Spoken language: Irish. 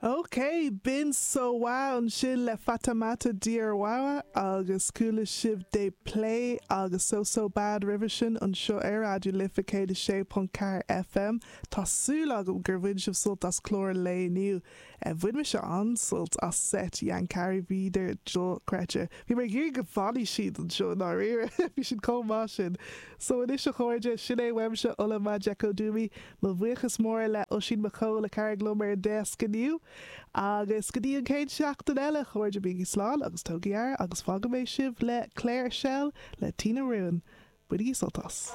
Ok, b'in Sowa ansin le Fatoumata Diawara agus chuala sibh De Plé agus So So Bad roimhe sin anseo ar Raidió Life 106.4 FM. Tá súil agam gur bhain sibh sult as clár an lae inniu. Bhain mise an-sult as seit Yankari, bhíodar dochreidte. Bhí mé ag iarraidh go bhfanfaidh siad anseo i ndáiríre, bhí siad chomh maith sin. So anois a chairde, sin é uaimse, Ola Majekodunmi. Mo bhuíochas mór le Oisín McCole a chabhraigh liom ar an deasc inniu. Agus go dtí an chéad seachtain eile, a chairde, bígí slán agus tógaigí aire agus fágfaidh mé sibh le Claire Shell le Tina Ruin. Bainigí sult as.